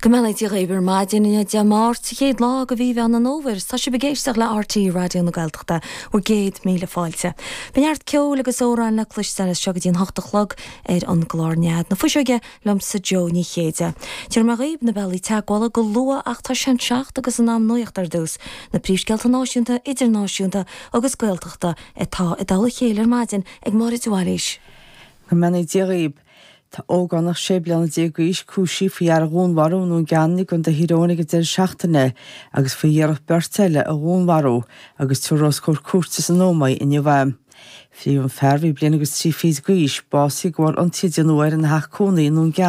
Go mbeannaí Dia dhaoibh ar maidin inniu Dé Máirt, an chéad lá de mhí Mheán an Fhómhair is tá sibh ag éisteacht le RTÉ Raidió na Gaeltachta, bhur gcéad míle fáilte. Beidh neart ceoil agus amhráin le cloisteáil as seo go dtí an hocht a chlog ar an gclár Nead na Fuiseoige liomsa Joe Ní Chéide. Tabharfaidh mé dhaoibh na bealaí teagmhála go luath ach tá sé an seacht agus in am nuaíochta ar dtús, na príomhscéalta náisiúnta, idirnáisiúnta agus Gaeltachta atá i dtoll a chéile ar maidin ag Máire de Bhailís. Go mbeannaí Dia dhaoibh. Tá ógánach 16 bliana d'aois cúisithe faoi fhear a dhúnmharú i nDún Geanainn i gContae Thír Eoghain ag an deireadh seachtaine agus faoi iarracht beirt eile a dhúnmharú agus tabharfar os comhair cúirte san Ómaigh inniu é. Frítheadh an fear, a bhí bliain agus trí fichid d'aois, básaithe de bharr ionsaí a déanadh air ina theach cónaí i nDún Geanainn.